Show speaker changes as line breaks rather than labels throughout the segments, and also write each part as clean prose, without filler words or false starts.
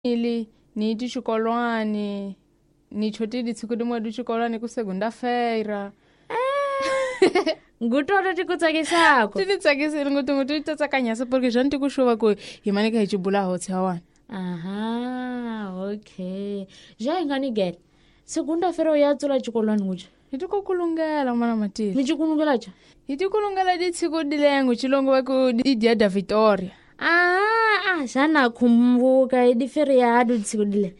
Ili ni ti xikolwani ni chotile siku rimwe di xikolwani ku segunda-feira.
Ngutoto ti ku tsakisako
ti ni tsakisile ngopfungopfu ti ta tsakanyasa porque xa ni ti ku xuva ku hi mane ka hi cibula hotse ya wani.
Aha, okay, ja hi nga ni gele segunda-feira ya tsula xikolwani nguca.
Hi ti ku kulungela n'wana Matile.
Ni cikulungela ca.
Hi ti kulungela ditshiku dilengo xilongo va ku i dia da Victoria.
Ah, ah, xa nakhumbuka i di-feriado ditshiku dile.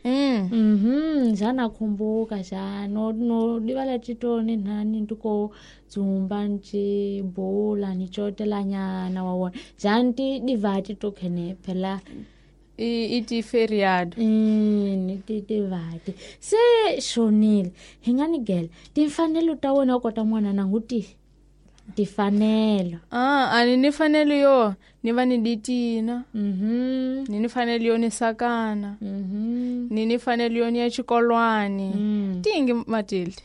Xa nakhumbuka xa no no divala titoni nhani ntiko dzumba nci bula ni cotelanyana wa wona xa nti divati to khene phela.
I ti-feriado.
Ni ti tivati se xonile hi nga ni gele timfanelo ta wena u kota n'wana nangu ti timfanelo.
Ah, a ni ni fanelo yo ni va ni ditina. Ni ni fanelo yo ni sakana. Ni ni fanelo yo ni ya xikolwani. Tingi Matilde.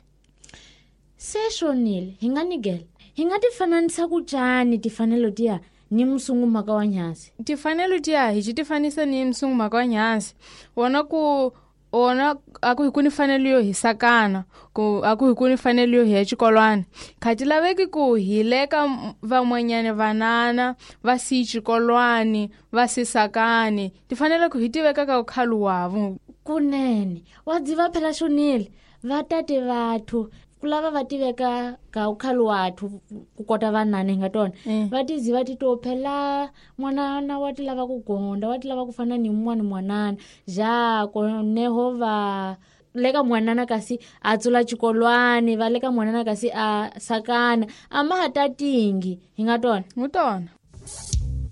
Se xonile hi nga ni gele hi nga ti fananisa ku cani timfanelo tiya ni musungu mhaka wa nyasi.
Timfanelo tiya hi xi ti fanisa ni musungu mhaka wa nyasi wona ku wona a ku hi ku ni fanelo yo hi sakana ku a ku hi ku ni fanelo yo hi ya xikolwani kha ti laveki ku hi leka van'wanyana vanana va si xikolwani va si sakani ti fanele ku hi ti veka ka ukhalu wavo.
Kunene wa dziva phela xonile va tate vathu ku lava va tiveka ka ukhalu wathu ku kota vanana hi nga tona. Va ti ziva ti to phela n'wanana wa ti lava ku gonda wa ti lava ku fana ni mun'wani n'wanana ja koneho va leka n'wanana kasi a tsula xikolwani va leka n'wanana kasi a sakana a ma ha tatingi hi nga tona.
Ngu tona.